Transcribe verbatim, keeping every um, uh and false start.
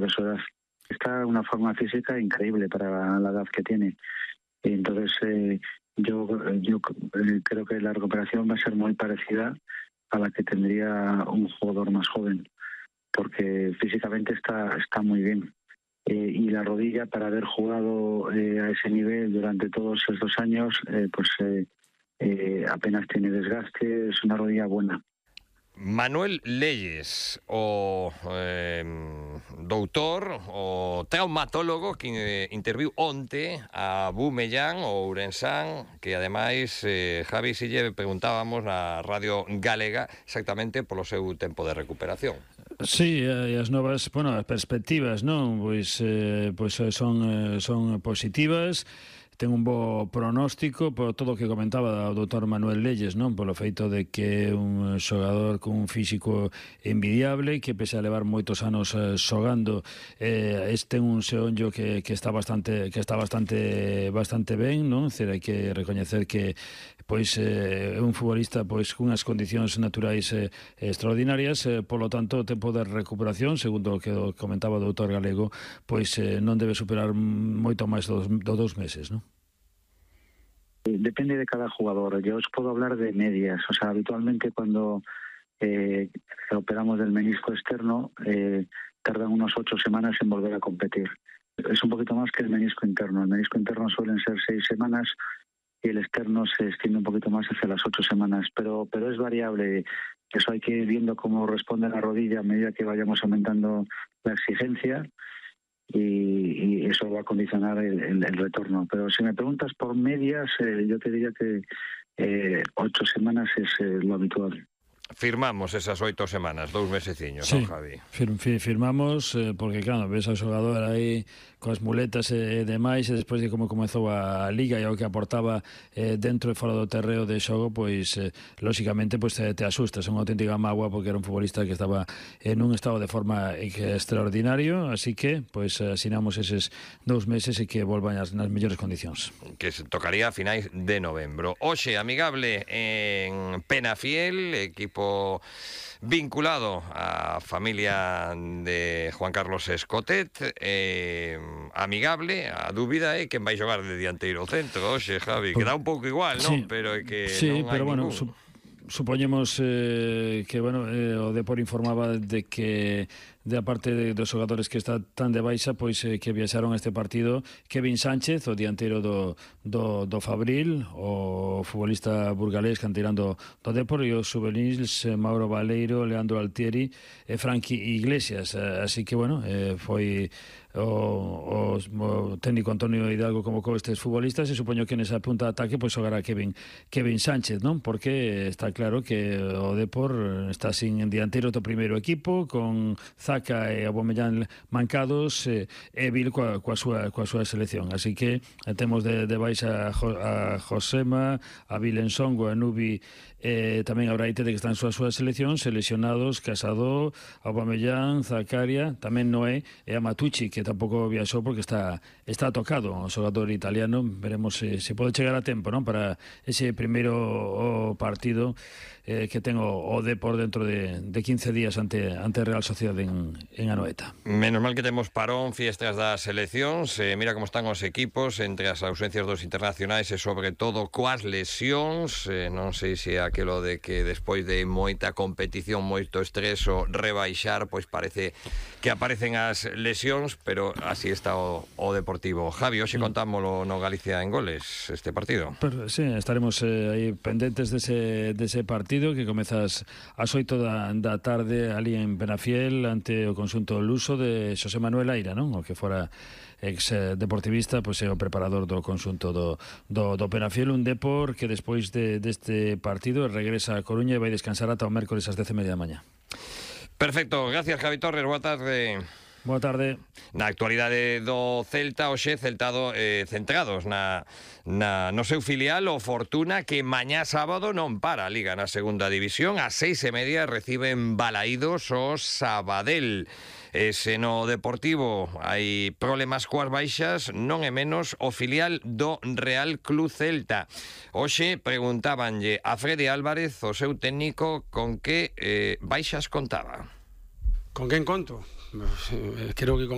de su edad. Está en una forma física increíble para la edad que tiene. Y entonces eh, yo, yo eh, creo que la recuperación va a ser muy parecida a la que tendría un jugador más joven, porque físicamente está, está muy bien. Eh, y la rodilla, para haber jugado eh, a ese nivel durante todos esos años, eh, pues eh, eh, apenas tiene desgaste, es una rodilla buena. Manuel Leyes, o eh, doutor, o traumatólogo que eh, interviu onte a Bumellán, o Ourensán, que ademais, eh, Javi, si lle preguntábamos na Radio Galega exactamente polo seu tempo de recuperación. Sí, e as novas, bueno, as perspectivas, non? Pois, eh, pois son, son positivas. Ten un bo pronóstico por todo o que comentaba o doutor Manuel Leyes, non? Polo feito de que é un xogador con un físico envidiable, que pese a levar moitos anos eh, xogando, eh, este un xeonllo que, que está bastante que está bastante bastante ben, non? Cer, hai que recoñecer que pois é eh, un futbolista pois cunhas condicións naturais eh, extraordinarias, eh, polo tanto o tempo de recuperación, segundo o que comentaba o doutor Galego, pois eh, non debe superar moito máis dos, dos dous meses, non? Depende de cada jugador. Yo os puedo hablar de medias. O sea, habitualmente cuando eh, operamos del menisco externo, eh, tardan unos ocho semanas en volver a competir. Es un poquito más que el menisco interno. El menisco interno suelen ser seis semanas y el externo se extiende un poquito más hacia las ocho semanas. Pero, pero es variable. Eso hay que ir viendo cómo responde la rodilla a medida que vayamos aumentando la exigencia. Y, y eso va a condicionar el, el, el retorno. Pero si me preguntas por medias, eh, yo te diría que eh, ocho semanas es eh, lo habitual. Firmamos esas oito semanas, dous meseciños, sí, non, Javi? Fir, fir, firmamos, eh, porque, claro, ves ao xogador aí coas muletas e demais, e despois de como comezou a Liga e o que aportaba eh, dentro e fora do terreo de xogo, pois, eh, lóxicamente, pois te, te asustas, unha auténtica mágoa, porque era un futbolista que estaba en un estado de forma extraordinario, así que, pois, asinamos eses dous meses e que volvan as, nas mellores condicións. Que se tocaría a finais de novembro. Oxe, amigable en Penafiel, equipo vinculado á familia de Juan Carlos Escotet, eh, amigable, a dúbida é quen vai xogar de dianteiro centro, oxe, Javi, que dá un pouco igual, non? Sí, pero é que sí, non hai pero bueno, ningún. Su supoñemos eh, que, bueno, eh, o Depor informaba de que de a parte de, dos xogadores que está tan de baixa, pois eh, que viaxaron a este partido Kevin Sánchez, o dianteiro do, do, do Fabril, o futbolista burgalés canteirando do Depor, e os juvenils eh, Mauro Baleiro, Leandro Altieri e Frankie Iglesias, eh, así que, bueno, eh, foi o, o, o técnico Antonio Hidalgo convocou estes futbolistas e supoño que nesa punta de ataque pois xogará Kevin, Kevin Sánchez, non? Porque está claro que o Depor está sin dianteiro do primeiro equipo, con Zaca e Aubameyang mancados, e, e Vil coa, coa, súa, coa súa selección, así que temos de, de baixa a, jo, a Josema, a Vilensongo, a Nubi, eh, tamén a Braitete que están súas súas seleccións, seleccionados Casado, Aubameyang, Zakaria, tamén Noé e a Matucci, que tampouco viaxou porque está está tocado o xogador italiano. Veremos se, se pode chegar a tempo, non, para ese primeiro o partido eh, que ten o, o Depor dentro de, de quince días ante ante Real Sociedade en, en Anoeta. Menos mal que temos parón, fiestas das seleccións, eh, mira como están os equipos entre as ausencias dos internacionais e sobre todo coas lesións, eh, non sei se aquelo de que despois de moita competición, moito estrés o rebaixar, pois parece que aparecen as lesións, pero así está o, o Deportivo. Javi, hoxe contámoslo no Galicia en Goles, este partido. Pero, sí, estaremos eh, aí pendentes dese, dese partido que comezas ás oito da, da tarde ali en Penafiel ante o conxunto luso de Xosé Manuel Aira, non? O que fora ex deportivista, pois é o preparador do conxunto do, do, do Penafiel, un Depor que despois de, deste partido regresa a Coruña e vai descansar ata o mércoles ás dez e media da mañá. Perfecto, gracias Javi Torres, boa tarde. Boa tarde. Na actualidade do Celta, hoxe Celtado eh, centrados na, na, no seu filial o Fortuna, que mañá sábado non para a Liga na segunda división, a seis e media reciben Balaídos o Sabadell. Ese no Deportivo hai problemas coas baixas, non é menos o filial do Real Club Celta. Hoxe preguntábanlle a Freddy Álvarez, o seu técnico, con que eh, baixas contaba. Con quen conto? Creo que con